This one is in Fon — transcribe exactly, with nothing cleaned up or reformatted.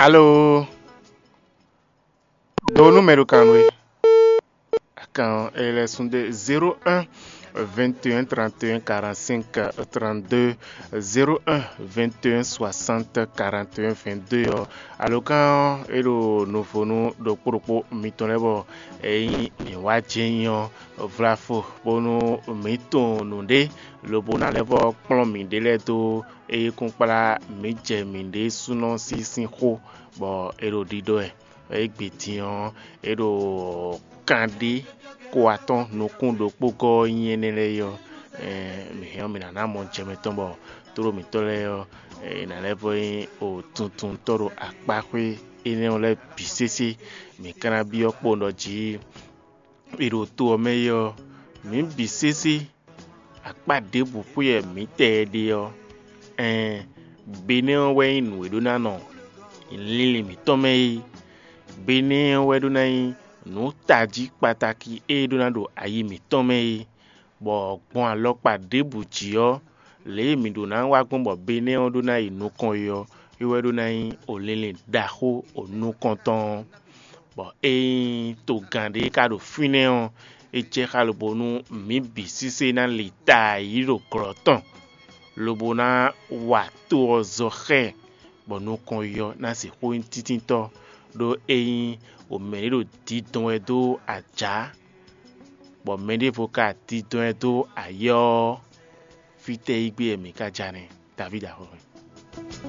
Alo, ɖo nú mɛ ɖo kan nú we. Kan ɔ́, é lɛ́ sú ɖe zéro un vingt et un trente et un quarante-cinq trente-deux, zéro un vingt et un soixante quarante et un vingt-deux ɔ́. Alokán ɔ́, é ɖo nuvonu ɖokpó ɖokpó mitɔn lɛ́ɛ bɔ é nyí mǐ wá jɛ nyi ɔ́, vlafo bónú mǐ tunwun nǔɖé, lobo ná lɛ́ vɔ́ kplɔ́n mǐɖée lɛ́ɛ dó é kún kplá mǐ jɛ mǐɖée súnɔ sín sín xó, bɔ é ɖo ɖiɖɔ wɛ. Égbé din ɔ́, é ɖo kanɖé ko atɔ́ɔ́n nukún ɖokpó gɔ́ ɔ́ nyí énɛ́ lɛ́ɛ é ɔ́, mǐ hɛn ɔ́, mǐ ná ná mɔ jɛ mɛtɔn bɔ tlóló mǐtɔn lɛ́ɛ ɔ́, è nǎ lɛ́ vɔ́ nyí tuntun tɔ́ ɖo akpáxwé énɛ́ ɔ́ lɛ́ɛ bǐ sésé. Mǐ ka ná byɔ́ kpowun ɖɔ jí è ɖo to ɔ́ mɛ é ɔ́, mǐ bǐ sésé akpá ɖěbǔ xwé wɛ mǐ tɛ ɛ ɖe ɔ́, ɛɛn, Benɛ́ ɔ́ wɛ nyí nǔ e ɖó ná nɔ linlin mǐtɔn mɛ é. Benɛ́ ɔ́ wɛ ɖó ná nyí nǔ tají kpatáki e ɖó ná ɖo ayi mǐtɔn mɛ é, bɔ gbɔn alɔkpa ɖěbǔ jí ɔ́, lě e mǐ ɖó ná wá gbɔn bɔ Benɛ́ ɔ́ ɖó ná yi nukɔn é ɔ́, é wɛ ɖó ná nyí o linlin ɖaxó o nukɔntɔn ɔ́. Bɔ ényí togán ɖé ka ɖo fínɛ́ ɔ́, é jɛ xá lobo nú mǐ bǐ sísé ná li ta yi ɖo glɔ̌ tɔn, lobo ná wa to ɔ́ zɔ xá ɛ, bɔ nukɔn yi ɔ́ ná sixú nyí tíntítɔ́, ɖó ényí o mɛ̌ ɖé ɖo didɔn wɛ dó ajǎ, bɔ mɛɖěvo ka didɔn wɛ dó ayɔ́ ɔ́, fítɛ́ yí gbé wɛ mǐ ka ja nɛ́? Davídi axɔ́.